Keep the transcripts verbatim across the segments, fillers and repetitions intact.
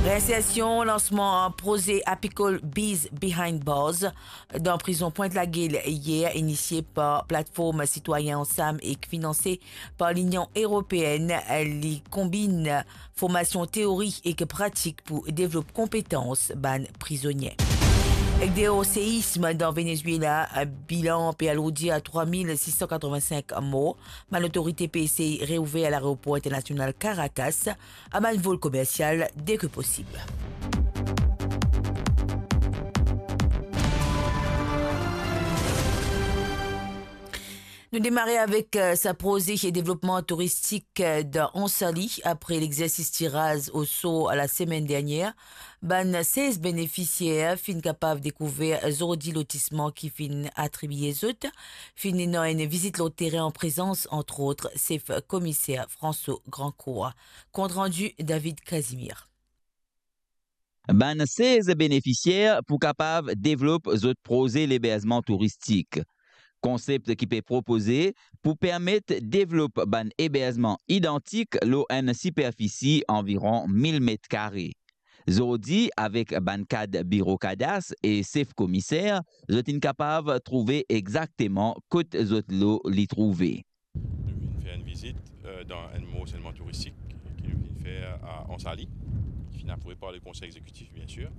Reinsersion, lansman proze apikol Bees Behind Bars dan prizon Pwint Lagel yer, inisie par Platform Sitwayen Ansam ek finanse par Linion Eropeenn. Li konbinn formasion teori ek pratik pou devlop konpetans bann prizonie. Ek deor seism dan Venezuela, bilan pe alourdi a trwa mil sis san katrovin-sink mor. Bann lotorite pe esey reouver laeropor internasional Caracas a bann vol komersial deki posib. Nou demare avek, eh, sa proze devlopman touristik, eh, dan Ansali, apre lexersis tiraz osor lasemenn dernier. Bann sez benefisier finn kapav dekouver zordi lotisman ki finn atribie zot, finn ena enn vizit lor terin an prezans, antrot, sef komiser François Grandcourt. Kontrandi David Casimir. Bann sez benefisier pou kapav devlop zot proze leberzman touristik. Konsep ki pe propoze pou permet devlop bann eberzman idantik lor enn siperfisi anviron mil met kare. Zordi, avek bann kad biro kadas e sef komiser, zot inn kapav trouve exakteman kot zot lo li trouve. Nou vinn fer enn vizit, eh, dan enn morselman touristik ki nou vinn fer a Ansali, ki finn aprouve par le konsey exekitif, bien sir,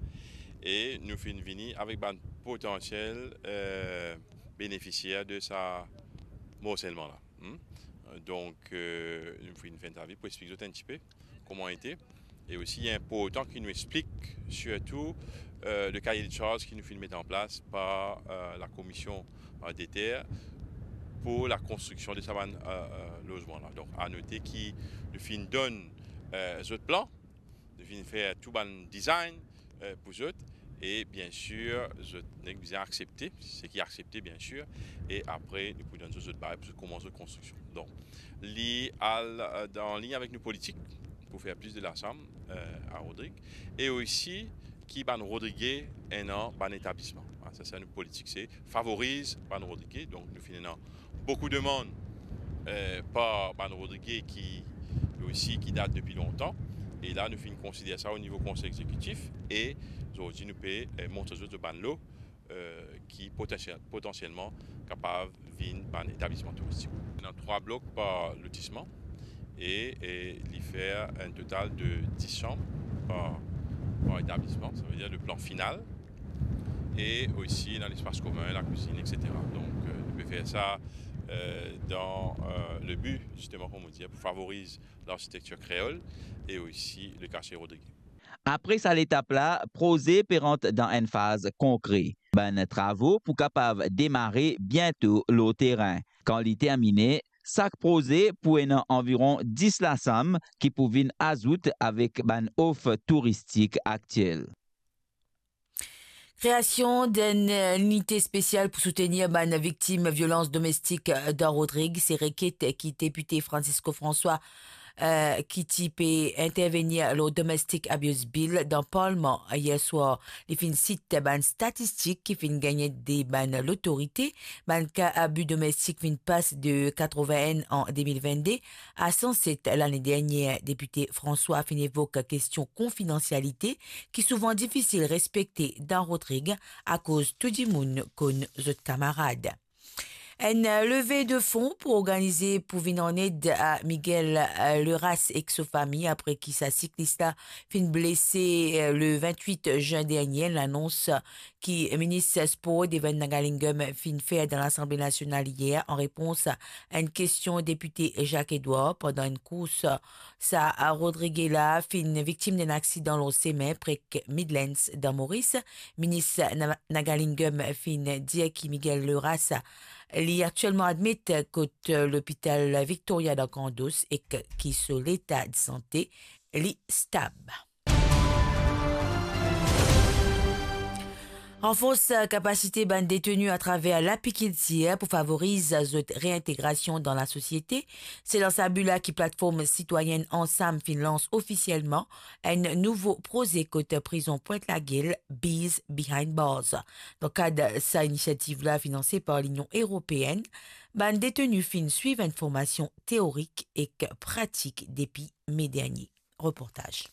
e nou finn vini avek bann potansiel, eh, benefisier de sa morselman la. Hmm? Eh, donk, eh, nou finn fer enn interview pou explik zot enn tipe kouma ete. E osi, li inportan ki nou explik sirtou, eh, le kaye de charz ki nou finn met an plas par, eh, lakomision, eh, deter pou lakonstriksion de sa bann, eh, eh, lozman la. Donk, a note ki nou finn donn, eh, zot plan, nou finn fer tou bann design, eh, pou zot, e bien sir, zot nek bizin aksepte, seki aksepte, bien sir, e apre, nou pou donn zot, zot bagay pou zot koumans zot konstriksion. Donk, li al, eh, dan ligne avek nou politik pou fer plis de lasam, eh, a Rodrig, e osi ki bann Rodrige ena bann etablisman. Ah, sa, se nou politik, se favoriz bann Rodrige. Donk, nou finn ena boukou demann, eh, par bann Rodrige ki, osi, ki dat depi lontan. E la, nou finn konsider sa o nivo konsey exekitif e zordi nou pe, eh, montre zot bann lo, eh, ki potansiel-, potansielman kapav vinn bann etablisman touristik. Ena trwa blok par lotisman e, e li fer enn total de dis sanm par, par etablisman, savedir le plan final. E osi, ena lespas komin, lakwizinn, et cetera. Donk, eh, nou pe fer sa, eh, dan, eh, le bi, zisteman, kouma dir, pou favoriz larsitektir kreol e osi le kartie Rodrige. Apre sa letap la, proze pe rant dan enn faz konkre. Bann travo pou kapav demare biento lor terin. Kan li termine, sak proze pou ena anviron dis lasam ki pou vinn azout avek bann of touristik aktiel. Kreasion d'enn, eh, linite spesial pou soutenir bann viktim violans domestik, eh, dan Rodrig, se reket ki depite Francisco François, eh, ki ti pe intervenir lor Domestic Abuse Bill dan Parlman yer swar. Li finn sit bann statistik ki finn gagne de bann lotorite. Bann ka abi domestik finn pas de katrovin-enn an de mil vennde a san set lane dernier. Depite François finn evok kestion konfidansialite ki souvan difisil respekte dan Rodrig akoz tou dimoun konn zot kamarad. Enn leve de fon pou organize pou vinn an ed a Miguel, eh, Leras ek so fami apre ki sa siklis la finn blese, eh, le vintwit zin dernier. Lanons ki minis spor Devan Nagalingam finn fer dan Lasanble Nasional yer an repons a enn kestion depite Jacques Edouard pandan enn kours. Sa Rodrig la finn viktim d'enn aksidan lor semin pre Midlands dan Moris. Minis Na-, Nagalingam finn dir ki Miguel Leras li aktielman admet kot lopital Victoria dan Kandos ek ki so leta de sante li stab. Ranfors kapasite bann deteni atraver lapikiltir pou favoriz zot reintegrasion dan lasosiete. Se dan sa bi la ki Platform Sitwayenn Ansam finn lans ofisielman enn nouvo proze kot prizon Pwint Lagel, Bees Behind Bars. Dan kad sa inisiativ la finanse par Linion Eropeenn, bann deteni finn swiv enn formasion teorik ek pratik depi me dernier. Reportaz.